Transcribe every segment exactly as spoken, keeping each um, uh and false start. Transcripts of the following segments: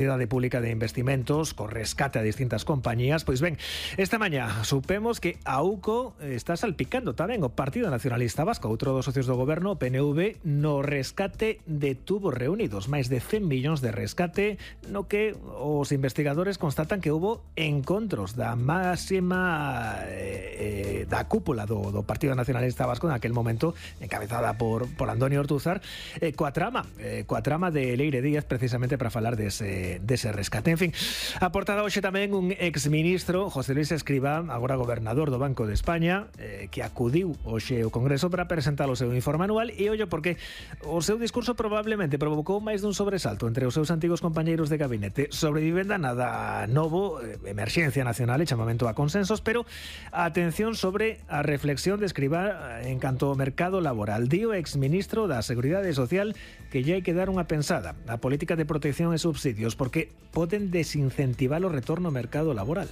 Sociedade Pública de Investimentos co rescate a distintas compañías. Pois ben, esta mañá supemos que a U C O está salpicando tamén o Partido Nacionalista Vasco, outro dos socios do goberno, o P N V, no rescate de tubos reunidos, máis de cen millóns de rescate, no que os investigadores constatan que houbo encontros da máxima eh, da cúpula do, do Partido Nacionalista Vasco naquel momento, encabezada por, por Antonio Ortúzar, eh, coa trama, eh, coa trama de Leire Díaz, precisamente para falar dese dese rescate. En fin, a portada hoxe tamén un exministro, José Luis Escrivá, agora gobernador do Banco de España, eh, que acudiu hoxe ao Congreso para presentar o seu informe anual, e ollo porque o seu discurso probablemente provocou máis dun sobresalto entre os seus antigos compañeiros de gabinete. Sobre vivenda nada novo, eh, emerxencia nacional e chamamento a consensos, pero atención sobre a reflexión de Escrivá en canto ao mercado laboral. Dio exministro da Seguridade Social que lle hai que dar unha pensada a política de protección e subsidios, porque poden desincentivar o retorno ao mercado laboral.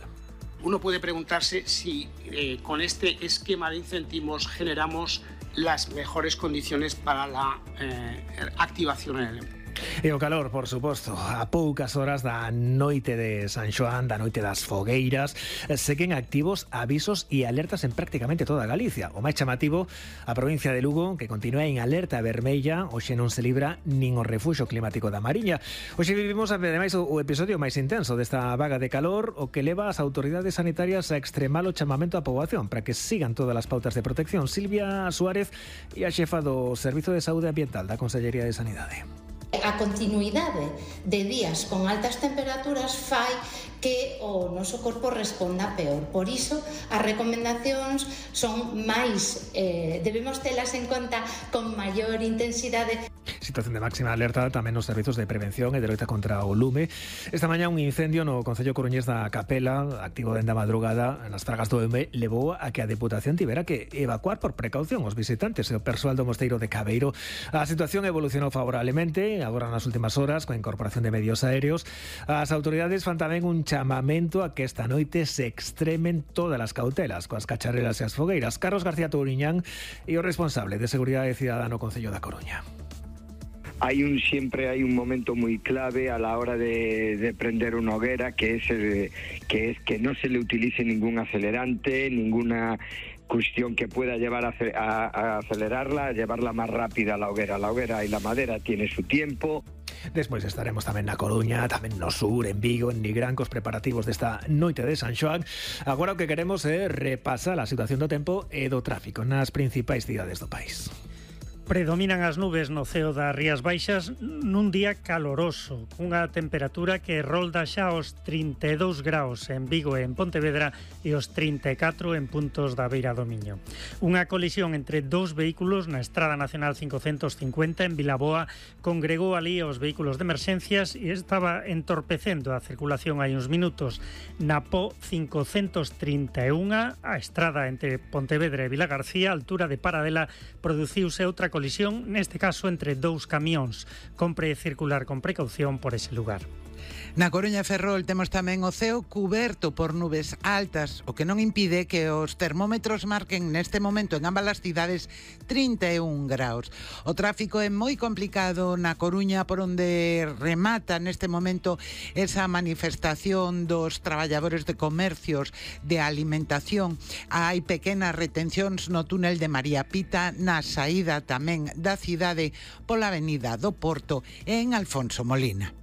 Uno puede preguntarse si eh, con este esquema de incentivos generamos las mejores condiciones para la eh, activación en el empleo. E o calor, por suposto, a poucas horas da noite de San Xoán, da noite das fogueiras, seguen activos avisos e alertas en prácticamente toda Galicia. O máis chamativo, a provincia de Lugo, que continúa en alerta vermella, hoxe non se libra nin o refuxio climático da Mariña. Hoxe vivimos, ademais, o episodio máis intenso desta vaga de calor, o que leva as autoridades sanitarias a extremar o chamamento á poboación para que sigan todas as pautas de protección. Silvia Suárez e a xefa do Servizo de Saúde Ambiental da Consellería de Sanidade. A continuidade de días con altas temperaturas fai que o noso corpo responda peor. Por iso, as recomendacións son máis, eh, debemos telas en conta con maior intensidade. Situación de máxima alerta tamén nos servizos de prevención e de loita contra o lume. Esta mañá un incendio no concello coruñés da Capela, activo dende a madrugada nas Fragas do Eume, levou a que a Deputación tivera que evacuar por precaución os visitantes e o persoal do mosteiro de Cabeiro. A situación evolucionou favorablemente agora nas últimas horas coa incorporación de medios aéreos. As autoridades fan tamén un chamamento a que esta noite se extremen todas as cautelas coas cacharelas e as fogueiras. Carlos García Touriñán e o responsable de Seguridade Cidadá no Concello da Coruña. Hay un siempre hay un momento muy clave a la hora de, de prender una hoguera, que es el, que es que no se le utilice ningún acelerante, ninguna cuestión que pueda llevar a, a, a acelerarla, a llevarla más rápida a la hoguera. La hoguera y la madera tiene su tiempo. Despois estaremos tamén na Coruña, tamén no sur, en Vigo, en Nigrán, cos preparativos desta noite de San Xoán. Agora o que queremos é repasar a situación do tempo e do tráfico nas principais cidades do país. Predominan as nubes no ceo das Rías Baixas nun día caloroso, cunha temperatura que rolda xa os trinta e dous graus en Vigo e en Pontevedra e os trinta e catro en puntos da Beira do Miño. Unha colisión entre dous vehículos na Estrada Nacional cincocentos cincuenta en Vilaboa congregou ali os vehículos de emerxencias e estaba entorpecendo a circulación hai uns minutos. Na P O cincocentos trinta e un, a estrada entre Pontevedra e Vilagarcía, a altura de Paradela, produciuse outra colisión, neste caso entre dous camións. Compre circular con precaución por ese lugar. Na Coruña e Ferrol temos tamén o ceo cuberto por nubes altas, o que non impide que os termómetros marquen neste momento en ambas as cidades trinta e un graus. O tráfico é moi complicado na Coruña, por onde remata neste momento esa manifestación dos traballadores de comercios de alimentación. Hai pequenas retencións no túnel de María Pita, na saída tamén da cidade pola avenida do Porto e en Alfonso Molina.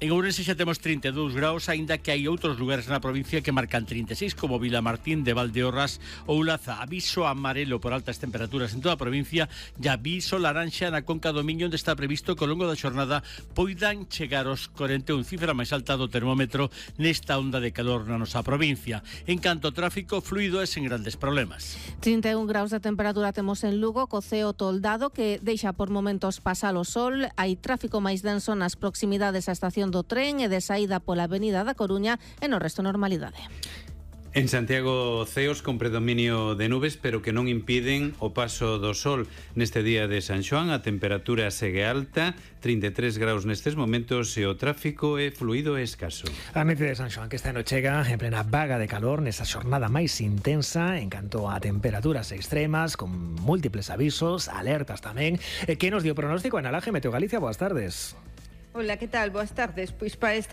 En Ourense xa temos trinta e dous graus, aínda que hai outros lugares na provincia que marcan trinta e seis, como Vilamartín de Valdeorras ou Laza. Aviso amarelo por altas temperaturas en toda a provincia e aviso laranxa na Conca do Miño, onde está previsto que ao longo da xornada poidan chegar os corenta e un, cifra máis alta do termómetro nesta onda de calor na nosa provincia. En canto ao tráfico fluido e sen grandes problemas. trinta e un graus de temperatura temos en Lugo, co ceo toldado que deixa por momentos pasar o sol. Hai tráfico máis denso nas proximidades á estación do tren e de saída pola avenida da Coruña e no resto normalidade. En Santiago, ceos con predominio de nubes, pero que non impiden o paso do sol. Neste día de San Xoán a temperatura segue alta, trinta e tres graus nestes momentos e o tráfico é fluido e escaso. A noite de San Xoán que este ano chega en plena vaga de calor, nesa xornada máis intensa en canto a temperaturas extremas, con múltiples avisos, alertas tamén. Que nos dio pronóstico Ana Laje, Meteo Galicia? Boas tardes. Hola, que tal? Boas tardes. Pois para esta